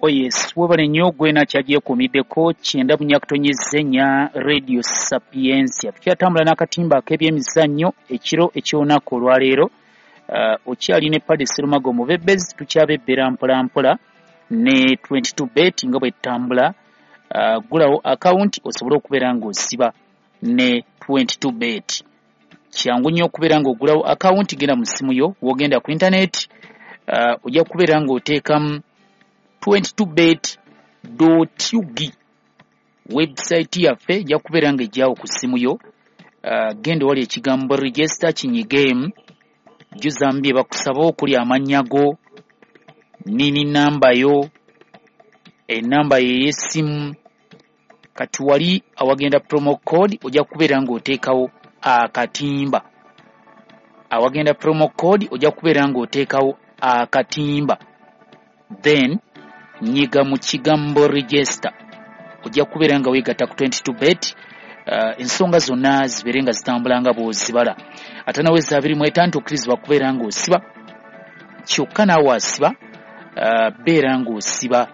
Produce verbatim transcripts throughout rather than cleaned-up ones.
Oh yes, webale nnyo gwena kyagyekuumiddeko kyenda bunyakutonyeza ennya Radio Sapientia. Tukyatambula n'akatimba ak'ebyemizannyo ekiro eky'olunaku olwaleero. Uh, okyali ne Paddy Serumago mu Bebezi, tukyabebbera mpola mpola ne twenty-two bet nga bwe tutambula. Uh, gulawo akawunti osobole okubeera ng'osiba ne twenty-two bet. Kyangu nnyo okubeera ng'ogulawo akawunti, genda mu ssimu yo, w'ogenda ku internet, uh, ojja kubeera ng'oteekamu twenty-two bet dot U G. Website yaffe ejja kubeera ng'ejjawo ku ssimu yo. Uh, genda wali ekigambo register kinyigeemu, jjuzamu bye bakusaba okuli amannya go, nini namba yo, ennamba yo ey'essimu. Kati wali awagenda promo code ojja kubeera ng'oteekawo akatimba. Awagenda promo code ojja kubeera ng'oteekawo akatimba, then nyiga mu kigambo register, ojja kubeera nga weegatta ku twenty-two bet. Uh, ensonga zonna zibeere nga zitambula nga bw'ozibala. Ate naweza abiri mu etaano tokkirizibwa kubeera ng'osiba, kyokka naawe asiba, uh, beera ng'osiba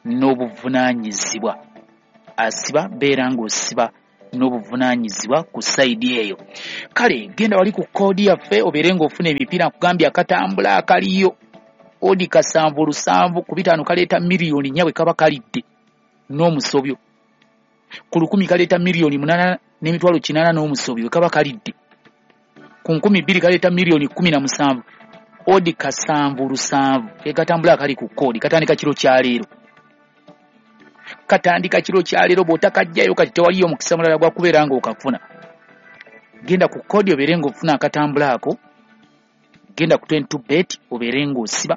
n'obuvunaanyizibwa. Asiba beera ng'osiba n'obuvunaanyizibwa ku sayidi eyo. Kale genda wali ku koodi yaffe obeere ng'ofuna emipiira. Nkugambye akatambula akaliyo odi kasanvu lusanvu ku bitaano kaleeta miliyoni nnya bwe kaba kalidde n'omusobyo, ku lukumi kaleeta miliyoni munaana n'emitwalo kinaana n'omusobyo bwe kaba kalidde, ku nkumi bbiri kaleeta miliyoni kkumi na musanvu. Odi kasanvu lusanvu ke katambula akali ku koodi, katandika kiro kya leero, katandika kiro kya leero. Bw'otakajjayo kati tewaliyo mukisa mulala gwa kubeera ng'okafuna. Genda ku koodi obeere ng'ofuna akatambula ako, genda ku twenty-two bet obeere ng'osiba,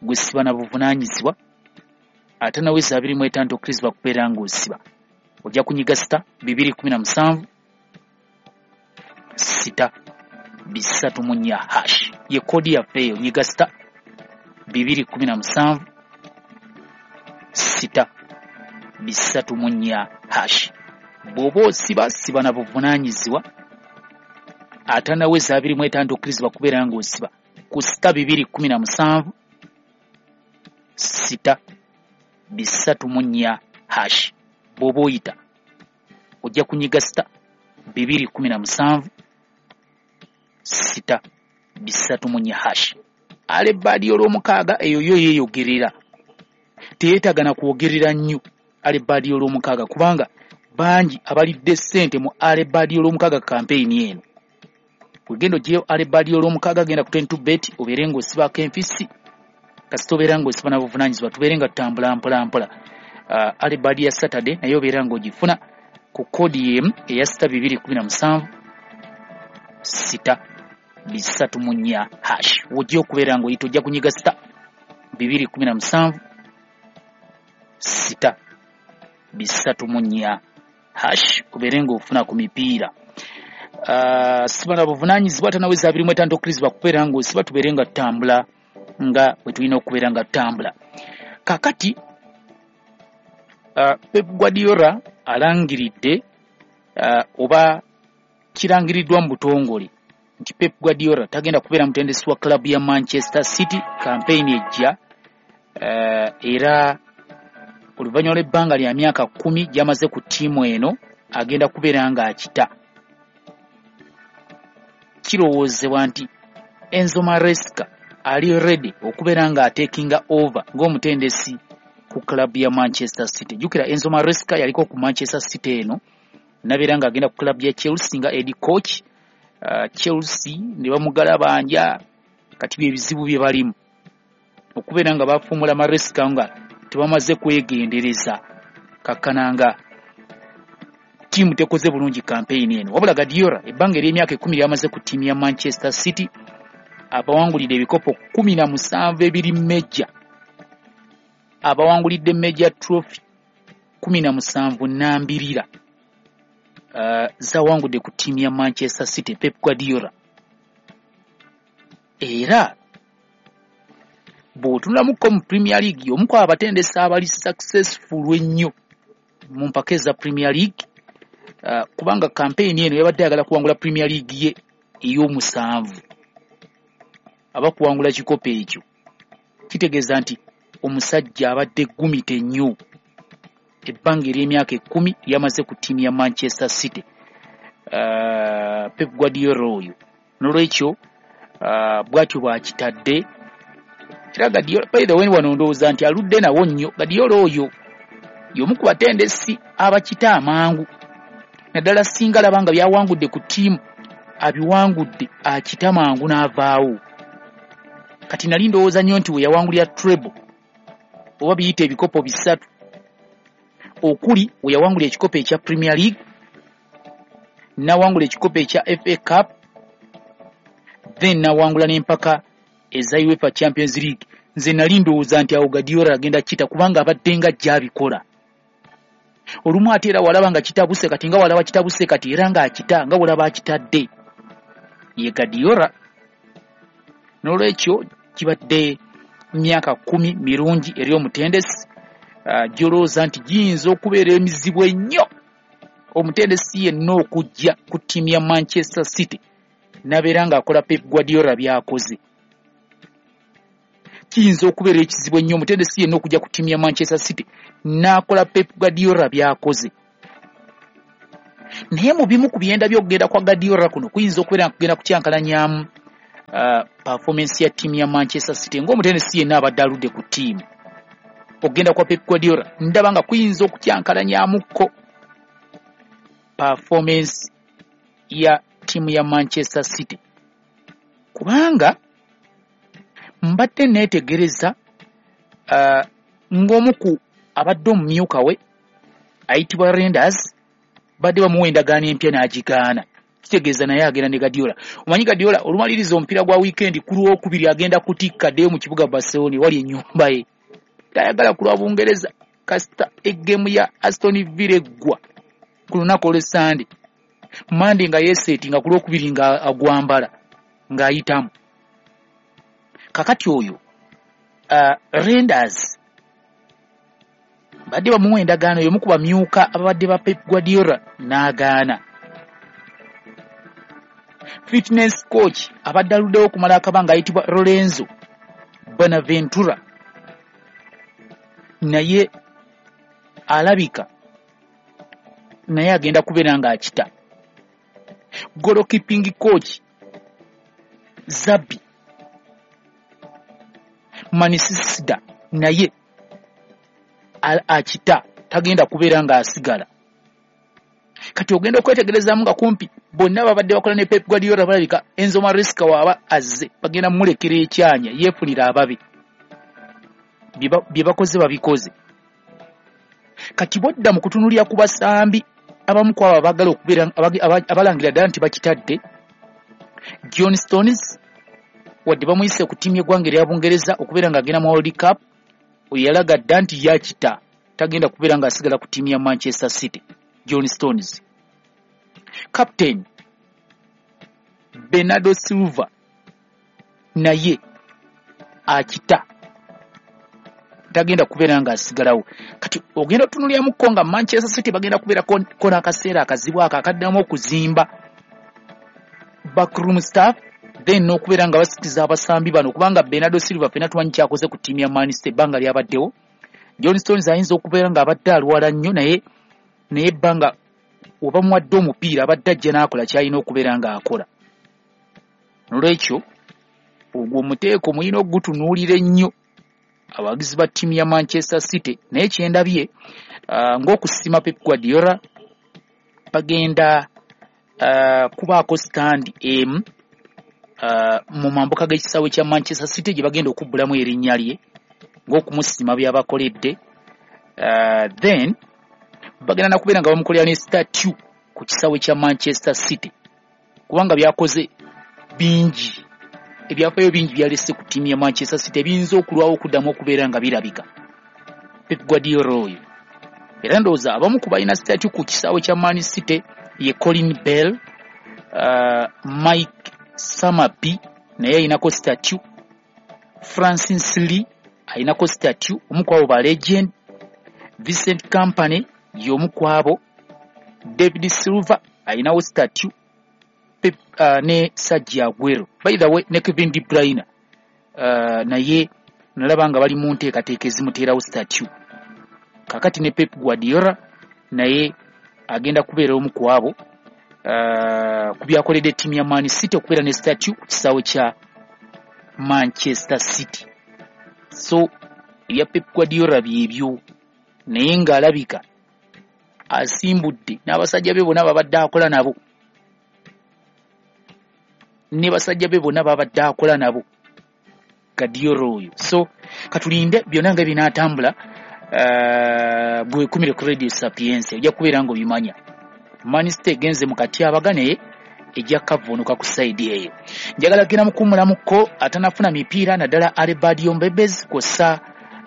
gwe siba na buvunaanyizibwa. Ate naweza abiri mu etaano tokkirizibwa kubeera ng'osiba. Ojja kunyiga sita bibiri kkumi na musanvu sita bisatu mu nnya hash, ye koodi yaffe eyo. Nyiga sita bibiri kkumi na musanvu sita bisatu mu nnya hash. Bw'oba osiba siba na buvunaanyizibwa. Ate naweza abiri mu etaano tokkirizibwa kubeera ng'osiba ku sita bibiri kkumi na musanvu sita bisatu mu nnya hash. Bw'oba oyita ojja kunyiga sita bibiri kkumi na musanvu sita bisatu mu nnya hash. Ale baadi olw'omukaaga eyo yo yeeyogerera, teyeetaaga na kwogerera nnyo ale baadi olw'omukaaga, kubanga bangi abalidde ssente mu ale baadi olw'omukaaga kampeyini eno. Wegenda oggyeyo ale baadi olw'omukaaga, genda ku twenty-two bet obeere ng'osibako enfisi, kasita obeera ng'osiba na buvunaanyizibwa. Tubeere nga tutambula mpola mpola. Uh, ale baadi ya Saturday naye obeera ng'ogifuna ku koodi y'emu eya sita bibiri kkumi na musanvu sita bisatu mu nnya hash. W'ojja okubeera ng'oyita ojja kunyiga sita bibiri kkumi na musanvu sita bisatu mu nnya hash obeere ng'ofuna ku mipiira. Uh, siba na buvunaanyizibwa. Ate naweza abiri mu etaano tokkirizibwa kubeera ng'osiba. Tubeere nga tutambula nga bwe tulina okubeera nga tutambula. Kaakati uh, Pep Guardiola alangiridde, uh, oba kirangiriddwa mu butongole nti Pep Guardiola tagenda kubeera mutendesi wa club ya Manchester City campaign ejja, uh, era oluvannyuma lw'ebbanga lya myaka kkumi gy'amaze ku ttiimu eno agenda kubeera ng'akita. Kirowoozebwa nti Enzo Maresca ali ready okubeera ng'atekinga over ng'omutendesi ku club ya Manchester City. Jjukira Enzo Maresca yaliko ku Manchester City eno, nabeera ng'agenda ku club ya Chelsea nga head coach. Uh, Chelsea ne bamugalabanja, kati bye bizibu bye balimu okubeera nga bafuumula Maresca nga tebamaze kwegendereza, kakkana nga ttiimu tekoze bulungi kampeyini eno. Wabula Guardiola ebbanga ery'emyaka ekkumi ly'amaze ku ttiimu ya Manchester City abawangulidde ebikopo kkumi na musanvu ebiri major, abawangulidde major trophy kkumi na musanvu nambirira, uh, zawangudde ku ttiimu ya Manchester City Pep Guardiola. Era bw'otunulamuko mu Premier League, omu ku abatendesi abali successful ennyo mu mpaka eza Premier League, uh, kubanga kampeyini eno yabadde ayagala kuwangula Premier League ye ey'omusanvu. Aba kuwangula kikopo ekyo kitegeeza nti Omusajja abadde gumite nnyo ebbanga ery'emyaka ekkumi lyamaze ku ttiimu ya Manchester City, uh, Pep Guardiola oyo. Nolwekyo uh, bwatyo bwakitadde. Era Guardiola, by the way, wano ndowooza nti aludde nawo nnyo. Guardiola oyo y'omu ku batendesi abakita amangu, naddala singa alaba nga byawangudde ku ttiimu abiwangudde, akita mangu n'avaawo. Kati nali ndowooza nnyo nti we yawangulira treble, oba biyita ebikopo bisatu, okuli we yawangula ekikopo ekya Premier League, n'awangula ekikopo ekya F A Cup, then n'awangula n'empaka eza UEFA Champions League. Nze nali ndowooza nti awo Guardiola agenda kita, kubanga abadde nga gy'abikola olumu, ate era walaba nga kitabuse. Kati nga walaba kitabuse, kati era ng'akita nga walaba akitadde ye Guardiola. N'olwekyo kibadde myaka kumi mirungi eri omutendesi, uh, gy'olowooza nti giyinza okubeera emizibu ennyo omutendesi yenna okujja ku ttiimu ya Manchester City n'abeera ng'akola Pep Guardiola by'akoze. Kiyinza okubeera ekizibu ennyo omutendesi yenna okujja ku ttiimu ya Manchester City n'akola Pep Guardiola by'akoze. Naye mu bimu ku byenda by'okugenda kwa Guardiola kuno kuyinza okubeera nga kugenda kukyankalanyamu uh, performance ya ttiimu ya Manchester City. Ng'omutendesi yenna abadde aludde ku ttiimu, okugenda kwa Pep Guardiola ndaba nga kuyinza okukyankalanyamukko performance ya ttiimu ya Manchester City, kubanga mbadde neetegereza uh, ng'omu ku abadde omumyuka we ayitibwa Reijnders, badde bamuwa endagaano empya n'agigaana. Kitegeeza naye agenda ne Guardiola. Omanyi Guardiola olumaliriza omupiira gwa weekend ku Lwokubiri agenda kutikka ddeyo mu kibuga Barcelona wali ennyumba ye. Tayagala kulwa Bungereza. Kasita eggemu ya Aston Villa eggwa ku lunaku olw'Essande, Mande nga yeeseeti nga ku Lwokubiri nga agwambala ng'ayitamu. Kakati oyo uh, Reijnders badde bamuwa endagaano, y'omu ku bamyuka ababadde ba Pep Guardiola, n'agaana. Fitness coach abadde aluddewo okumala akabanga ayitibwa Lorenzo Bonaventura naye alabika naye agenda kubeera ng'akita. Goalkeeping coach Xabi Mansisida naye akita, tagenda kubeera ng'asigala. Kati ogenda okwetegerezaamu nga kumpi bonna babadde bakola ne Pep Guardiola balabika Enzo Maresca waaba azze bagenda mumulekera ekyanya yeefunira ababe. Bye bakoze babikoze. Kati bodda mu kutunuulira ku basambi, abamu ku abo abaagala okubeera abalangira ddala nti bakitadde, John Stones, wadde bamuyise ku ttiimu y'eggwanga erya Bungereza okubeera ng'agenda mu World Cup, oyo yalaga dda nti yakita, tagenda kubeera ng'asigala ku ttiimu ya Manchester City. John Stones, captain Bernardo Silva naye akita, tagenda kubeera ng'asigalawo. Kati ogenda otunuuliramuko nga Manchester City bagenda kubeera ko n'akaseera akazibu ako akaddamu okuzimba backroom staff, then n'okubeera nga basikiza abasambi bano, kubanga Bernardo Silva ffenna tumanyi kyakoze ku ttiimu ya Man City ebbanga lyabaddewo. John Stones ayinza okubeera ng'abadde alwala nnyo, naye naye ebbanga oba muwadde omupiira abadde ajja n'akola ky'alina okubeera ng'akola. Nolwekyo ogwo omuteeko mulina okugutunuulira ennyo abawagizi ba ttiimu ya Manchester City. Naye kyendabye uh, ng'okusima Pep Guardiola, bagenda uh, kubaako stand emu uh, mu mambuka g'ekisaawe kya Manchester City gye bagenda okubbulamu erinnya lye ng'okumusima by'abakoledde. uh, then bagenda nakubeera nga bamukolera ne statue ku kisaawe kya Manchester City, kubanga byakoze bingi, ebyafaayo bingi byalese ku ttiimu ya Manchester City ebiyinza okulwawo okuddamu okubeera nga birabika. Pep Guardiola oyo era ndowooza abamu ku balina statue ku kisaawe kya Man City ye Colin Bell, uh, Mike Summerbee naye ayinako statue, Francis Lee ayinako statue, omu ku abo ba legend, Vincent Kompany y'omu ku abo, David Silva ayinawo statue, Pep, uh, ne Sergio Aguero, by the way, ne Kevin De Bruyne uh, naye Nalaba nga bali mu nteekateeka ezimuteerawo statue. Kakati ne Pep Guardiola naye agenda kubeera omu ku abo uh, ku byakoledde ttiimu ya Man City okubeera ne statue ku kisaawe kya Manchester City. So ebya Pep Guardiola byebyo, naye ng'alabika asimbudde n'abasajja be bonna babadde akola nabo, ne basajja be bonna babadde akola nabo Guardiola oyo. So katulinde byonna nga binaatambula. Uh, gwekumire ku Radio Sapientia, ojja kubeera ng'obimanya. Man City egenze mu katyabaga naye ejja kavvuunuka ku sayidi eyo. Njagala genda mukuwummulamuko atanafuna mipiira, naddala Alebadio Mbebez kw'ossa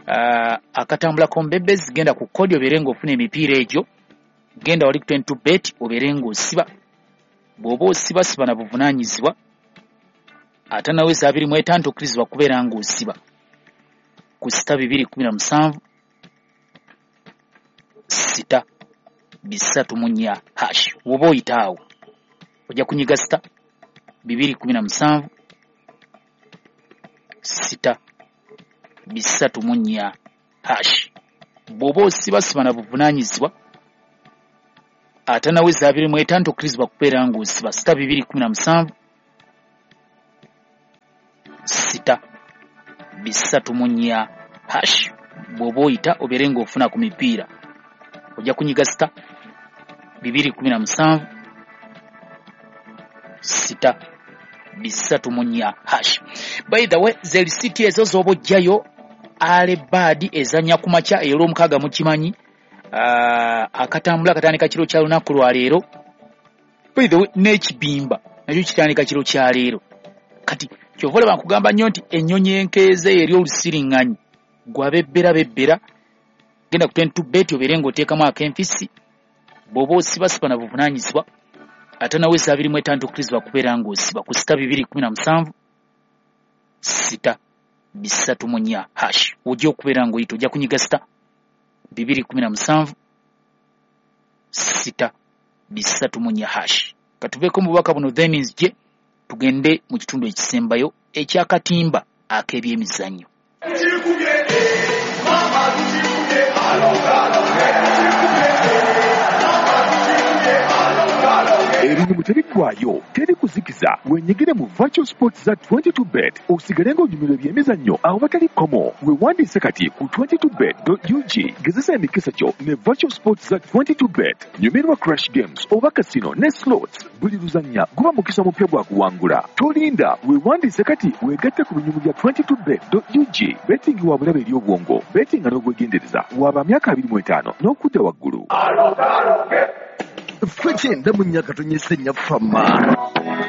uh, akatambulako Mbebez. Genda ku kodi obeere ng'ofuna emipiira egyo, genda wali ku twenty-two bet obeere ng'osiba. Bw'oba osiba, siba na buvunaanyizibwa. Atanaweza abiri mu etaano tokkirizibwa kubeera ng'osiba ku sita bibiri kumi na musanvu sita bisatu mu nnya hash. Woba oyita awo ojja kunyiga sita bibiri kumi na musanvu sita bisatu mu nnya hash. Bw'oba osiba, siba na buvunaanyizibwa. Atanaweza abiri mu etaano tokkirizibwa kubeera ng'osiba sita bibiri kumi na musanvu sita bisatu mu nnya hash. Bw'oba oyita obeere ng'ofuna ku mipiira, ojja kunyiga sita bibiri kumi na musanvu sita bisatu mu nnya hash. By the way, ze lisiti ezo z'oba ojjayo. Alebad ezannya ku makya ey'olwomukaaga, mukimanyi uh, akatambula katandika kiro kya lunaku lwa leero. By the way, n'ekibimba nakyo kitandika kiro kya leero. Kati kyova olaba nkugamba nnyo nti ennyonyi enkeeze eri olusiriŋŋanyi, gwabebbera bebbera, genda ku twenty-two bet obeere ng'oteekamu ak'enfisi. Bw'oba osiba, siba na buvunaanyizibwa. Ate naweza abiri mu etaano tokkirizibwa kubeera ng'osiba ku sita bibiri kumi na musanvu sita bisatu mu nnya hash. Ojja okubeera ng'oyita, ojja kunyiga sita bibiri kumi na musanvu sita bisatu mu nnya hash. Katuveeko mu bubaka buno, then nzije tugende mu kitundu ekisembayo ekyakatimba ak'ebyemizannyo. Ebinyumu tebiggwayo, teri kuzikiza. Wenyigire mu virtual sports za twenty-two bet, osigale ng'onyumirwa ebyemizannyo awatali kkomo. Weewandiise kati ku twenty-two bet dot U G. Gezesa emikisa gyo ne virtual sports za twenty-two bet. Nyumirwa crash games oba casino ne slots. Buli luzannya guba mukisa mupya gwa kuwangula. Tolinda, weewandiise kati weegatte ku binyumu bya twenty-two bet dot U G. Betting wa bulabe eri obwongo. Betting n'obwegendereza. Waba myaka abiri mu etaano n'okudda waggulu. Ffe kyenda mu nnya katonyese nnya fama.